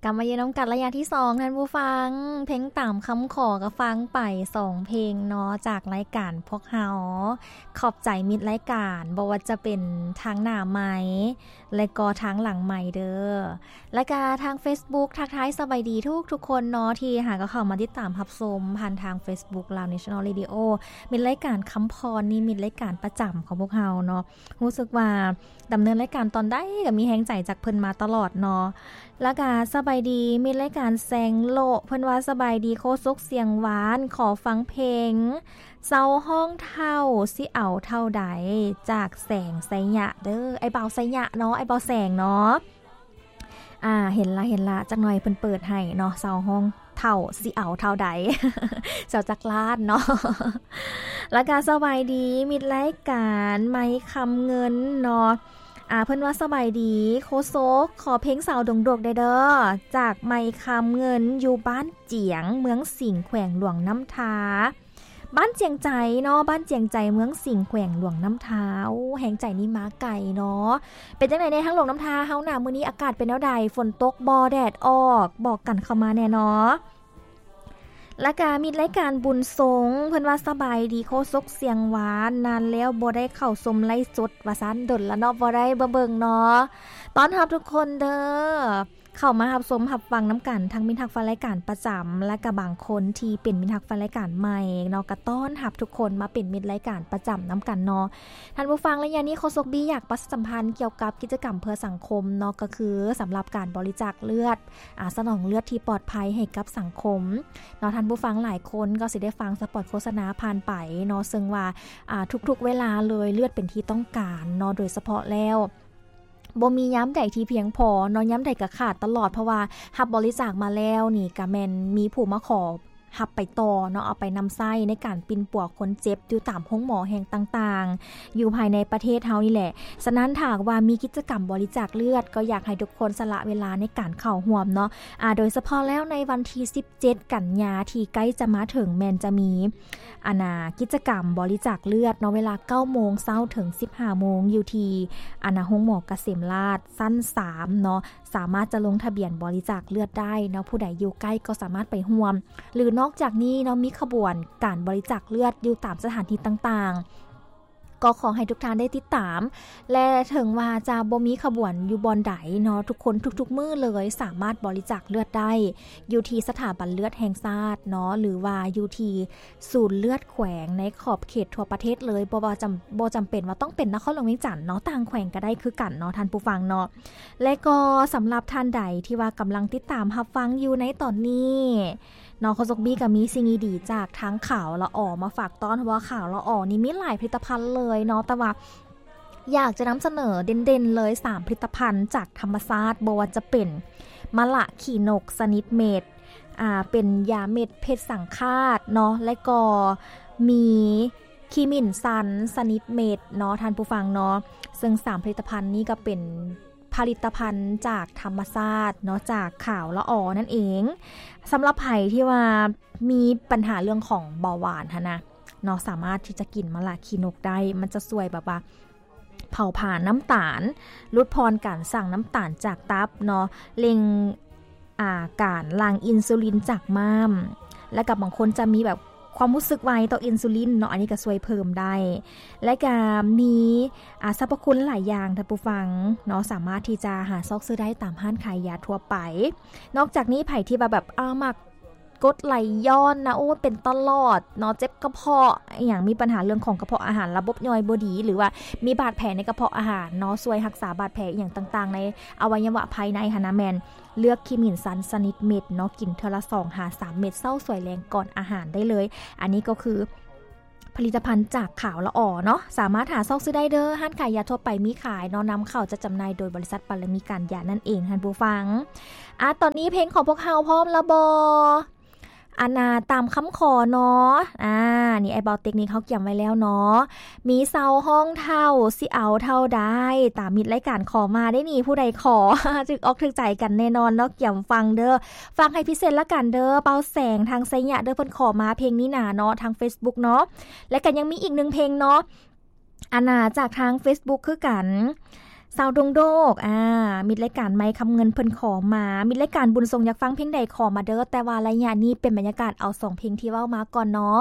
ກັບມາຢູ່ນຳກັນໄລຍະທີສອງ ທ່ານຜູ້ຟັງ. ເພງຕາມຄຳຂໍກໍຟັງໄປສອງເພງເນາະ ຈາກລາຍການພວກເຮົາ. ຂອບໃຈມິດລາຍການ ບໍ່ວ່າຈະເປັນທາງໜ້າໄມ ແລະກໍທາງຫຼັງໄມເດີ. ແລະກະທາງ Facebook ທັກທາຍສະບາຍດີທຸກໆຄົນເນາະ ທີ່ຫາກໍເຂົ້າມາຕິດຕາມຮັບຊົມຜ່ານທາງ Facebook ລາວ National Radio. ມິດລາຍການຄຳພອນນີ້ ມິດລາຍການປະຈຳຂອງພວກເຮົາເນາະ. ຮູ້ສຶກວ່າດຳເນີນລາຍການຕອນໃດກໍມີແຮງໃຈຈາກເພິ່ນມາຕະຫຼອດເນາະ. ແລ້ວກະສະບາຍດີມິດລາຍການແສງໂລະ ເພິ່ນວ່າສະບາຍດີໂຄສົກສຽງຫວານ ຂໍຟັງເພງເຊົາຮ້ອງເຖົ້າ ຊິເອົາເທົ່າໃດ ຈາກແສງໄຊຍະເດີ ອ້າຍບ່າວໄຊຍະເນາະ ອ້າຍບ່າວແສງເນາະ. ອ່າ ເຫັນລະ ເຫັນລະ ຈັກໜ່ອຍເພິ່ນເປີດໃຫ້ເນາະ ເຊົາຮ້ອງເຖົ້າ ຊິເອົາເທົ່າໃດ ເຊົາຈັກລ້ານເນາະ. ແລ້ວກະສະບາຍດີມິດລາຍການໄມຄຳເງິນເນາະ ອ່າ ເພິ່ນວ່າສະບາຍດີໂຄສົກ ຂໍເພງສາວດົງດົກແດ່ເດີ ຈາກໄມຄຳເງິນ ຢູ່ບ້ານຈຽງ ເມືອງສິງ ແຂວງຫຼວງນ້ຳທາ. ບ້ານຈຽງໃຈເນາະ ບ້ານຈຽງໃຈ ເມືອງສິງ ແຂວງຫຼວງນ້ຳທາ. ໂອ້ ແຮງໃຈນີ້ມາໄກເນາະ. ເປັນຈັ່ງໃດແດ່ທາງຫຼວງນ້ຳທາເຮົານະ ມື້ນີ້ອາກາດເປັນແນວໃດ ຝົນຕົກບໍ່ ແດດອອກ ບອກກັນເຂົ້າມາແດ່ເນາະ. ແລ້ວກະມິດລາຍການບຸນຊົງ ເພິ່ນວ່າສະບາຍດີໂຄສົກສຽງຫວານ ນານແລ້ວບໍ່ໄດ້ເຂົ້າຊົມໄລຟ໌ສົດວ່າຊັ້ນ ດົນລະເນາະ ບໍ່ໄດ້ມາເບິ່ງເນາະ. ຕ້ອນຮັບທຸກຄົນເດີ ເຂົ້າມາຮັບຊົມຮັບຟັງນຳກັນ ທັງມິດຮັກແຟນລາຍການປະຈຳ ແລະກະບາງຄົນທີ່ເປັນມິດຮັກແຟນລາຍການໃໝ່ເນາະ ກະຕ້ອນຮັບທຸກຄົນມາເປັນມິດລາຍການປະຈຳນຳກັນເນາະ. ທ່ານຜູ້ຟັງ ໄລຍະນີ້ໂຄສົກບີຢາກປະຊາສຳພັນກ່ຽວກັບກິດຈະກຳເພື່ອສັງຄົມເນາະ ກໍຄືສຳລັບການບໍລິຈາກເລືອດ ອາ ສະໜອງເລືອດທີ່ປອດໄພໃຫ້ກັບສັງຄົມເນາະ. ທ່ານຜູ້ຟັງຫຼາຍຄົນກໍຊິໄດ້ຟັງສະປອດໂຄສະນາຜ່ານໄປເນາະ ເຊິ່ງວ່າ ອາ ທຸກໆເວລາເລີຍ ເລືອດເປັນທີ່ຕ້ອງການເນາະ ໂດຍສະເພາະແລ້ວ ບໍ່ມີຍາມໃດທີ່ພຽງພໍເນາະ ຍາມໃດກໍຂາດຕະຫຼອດ ເພາະວ່າຮັບບໍລິຈາກມາແລ້ວນີ້ ກະແມ່ນມີຜູ້ມາຂໍຮັບໄປຕໍ່ເນາະ ເອົາໄປນຳໃຊ້ໃນການປິ່ນປົວຄົນເຈັບຢູ່ຕາມໂຮງໝໍແຫ່ງຕ່າງໆ ຢູ່ພາຍໃນປະເທດເຮົານີ້ແຫຼະ. ສະນັ້ນ ຖ້າຫາກວ່າມີກິດຈະກຳບໍລິຈາກເລືອດ ກໍຢາກໃຫ້ທຸກຄົນສະຫຼະເວລາໃນການເຂົ້າຮ່ວມເນາະ ອາ ໂດຍສະເພາະແລ້ວໃນວັນທີສິບເຈັດ ກັນຍາ ທີ່ໃກ້ຈະມາເຖິງ ແມ່ນຈະມີ ອັນນາ ກິດຈະກຳບໍລິຈາກເລືອດເນາະ ເວລາເກົ້າໂມງເຊົ້າເຖິງສິບຫ້າໂມງ ຢູ່ທີ່ ອັນນາ ໂຮງໝໍກະເສມລາດ ຊັ້ນສາມເນາະ ສາມາດຈະລົງທະບຽນບໍລິຈາກເລືອດໄດ້ເນາະ ຜູ້ໃດຢູ່ໃກ້ກໍສາມາດໄປຮ່ວມ ຫຼື ນອກຈາກນີ້ເນາະ ມີຂະບວນການບໍລິຈາກເລືອດຢູ່ຕາມສະຖານທີ່ຕ່າງໆ ກໍຂໍໃຫ້ທຸກທ່ານໄດ້ຕິດຕາມ ແລະ ເຖິງວ່າຈະບໍ່ມີຂະບວນຢູ່ບ່ອນໃດເນາະ ທຸກຄົນທຸກໆມື້ເລີຍສາມາດບໍລິຈາກເລືອດໄດ້ ຢູ່ທີ່ສະຖາບັນເລືອດແຫ່ງຊາດເນາະ ຫຼືວ່າຢູ່ທີ່ສູນເລືອດແຂວງໃນຂອບເຂດທົ່ວປະເທດເລີຍ ບໍ່ວ່າຈຳ ບໍ່ຈຳເປັນວ່າຕ້ອງເປັນນະຄອນຫຼວງວຽງຈັນເນາະ ຕ່າງແຂວງກໍໄດ້ຄືກັນເນາະ ທ່ານຜູ້ຟັງເນາະ. ແລະກໍສຳລັບທ່ານໃດທີ່ວ່າກຳລັງຕິດຕາມຮັບຟັງຢູ່ໃນຕອນນີ້ ເນາະ ໂຄສົກບີກໍມີສິ່ງດີໆຈາກທາງຂາວລະອໍມາຝາກຕ້ອນ ເພາະວ່າຂາວລະອໍນີ້ມີຫຼາຍຜະລິດຕະພັນເລີຍເນາະ ແຕ່ວ່າຢາກຈະນຳສະເໜີເດັ່ນໆເລີຍ ສາມຜະລິດຕະພັນຈາກທຳມະຊາດ ບໍ່ວ່າຈະເປັນມະລະຂີ້ນົກຊະນິດເມັດ ອ່າ ເປັນຢາເມັດເພັດສັງຄາດເນາະ ແລະກໍມີຂີ້ໝິ້ນຊັນຊະນິດເມັດເນາະ ທ່ານຜູ້ຟັງເນາະ. ເຊິ່ງສາມຜະລິດຕະພັນນີ້ກໍເປັນ ຜະລິດຕະພັນຈາກທຳມະຊາດເນາະ ຈາກຂາວລະອໍນັ້ນເອງ. ສຳລັບໃຜທີ່ວ່າມີບັນຫາເລື່ອງຂອງເບົາຫວານຫັ້ນນະເນາະ ສາມາດທີ່ຈະກິນມະລະຂີ້ນົກໄດ້ ມັນຈະຊ່ວຍແບບວ່າເຜົາຜານນ້ຳຕານ ຫຼຸດຜ່ອນການສ້າງນ້ຳຕານຈາກຕັບເນາະ ເລັ່ງ ອ່າ ການຫຼັ່ງອິນຊູລິນຈາກມ້າມ ແລະກໍບາງຄົນຈະມີແບບຄວາມຮູ້ສຶກໄວຕໍ່ອິນຊູລິນເນາະ ອັນນີ້ກໍຊ່ວຍເພີ່ມໄດ້ ແລະກໍມີ ອ່າ ສັບພະຄຸນຫຼາຍຢ່າງ ທ່ານຜູ້ຟັງເນາະ ສາມາດທີ່ຈະຫາຊອກຊື້ໄດ້ຕາມຮ້ານຂາຍຢາທົ່ວໄປ. ນອກຈາກນີ້ ໃຜທີ່ວ່າແບບ ອ່າ ມັກກົດໄຫຼຍ້ອນນະ ໂອ້ ເປັນຕະຫຼອດເນາະ ເຈັບກະເພາະອີ່ຫຍັງ ມີບັນຫາເລື່ອງຂອງກະເພາະອາຫານ ລະບົບຍ່ອຍບໍ່ດີ ຫຼືວ່າມີບາດແຜໃນກະເພາະອາຫານເນາະ ຊ່ວຍຮັກສາບາດແຜອີ່ຫຍັງຕ່າງໆໃນອະໄວຍະວະພາຍໃນຫັ້ນນະ ແມ່ນ ເລືອກຂີ້ໝິ້ນຊັນຊະນິດເມັດເນາະ ກິນເທື່ອລະສອງຫາສາມເມັດ ເຊົ້າສວຍແລງກ່ອນອາຫານໄດ້ເລີຍ. ອັນນີ້ກໍຄືຜະລິດຕະພັນຈາກຂາວລະອໍເນາະ ສາມາດຫາຊອກຊື້ໄດ້ເດີ ຮ້ານຂາຍຢາທົ່ວໄປມີຂາຍເນາະ ນຳເຂົ້າຈັດຈຳໜ່າຍໂດຍບໍລິສັດປາລະມີການຢານັ້ນເອງ ທ່ານຜູ້ຟັງ. ອາ ຕອນນີ້ເພງຂອງພວກເຮົາພ້ອມລະບໍ່? ອັນນາ ຕາມຄຳຂໍເນາະ ອາ ນີ້ອ້າຍເບົາເຕັກນິກເຮົາກຽມໄວ້ແລ້ວເນາະ ມີເຊົາຮ້ອງເຖົ້າ ຊິເອົາເທົ່າໃດ ຕາມມິດລາຍການຂໍມາເດ້ນີ້ ຜູ້ໃດຂໍ ຖືກອອກຖືກໃຈກັນແນ່ນອນເນາະ ກຽມຟັງເດີ ຟັງໃຫ້ພິເສດລະກັນເດີ ເບົາແສງທາງໄຊຍະເດີ ເພິ່ນຂໍມາເພງນີ້ນາເນາະ ທາງ Facebook ເນາະ ແລະກໍຍັງມີອີກໜຶ່ງເພງເນາະ ອັນນາ ຈາກທາງ Facebook ຄືກັນ ສາວດົງໂດກ ອາ ມິດລາຍການໄມຄຳເງິນເພິ່ນຂໍມາ, ມິດລາຍການບຸນສົງຢາກຟັງເພງໃດຂໍມາເດີ້, ແຕ່ວ່າໄລຍະນີ້ເປັນບັນຍາກາດເອົາສອງເພງທີ່ເວົ້າມາກ່ອນເນາະ.